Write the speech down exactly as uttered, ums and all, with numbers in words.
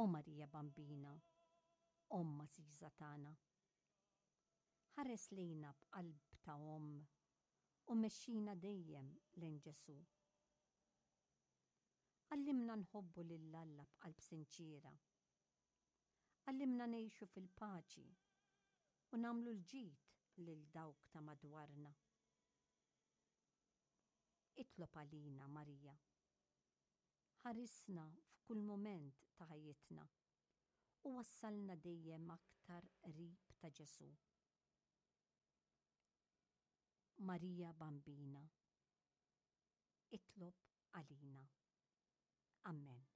O Marija Bambina, Omm għażiża tagħna, ħares lejna b'qalb ta' omm u mexxina dejjem lejn Ġesù. Għallimna nħobbu lil Alla b'qalb sinċiera. Għallimna ngħixu fil-paċi u nagħmlu l-ġid lil dawk ta' madwarna. Itlob għalina, Marija. Ħarisna f'kull mument ta' ħajjitna u wassalna dejjem aktar qrib ta' Ġesù. Marija Bambina, itlob għalina. Amen.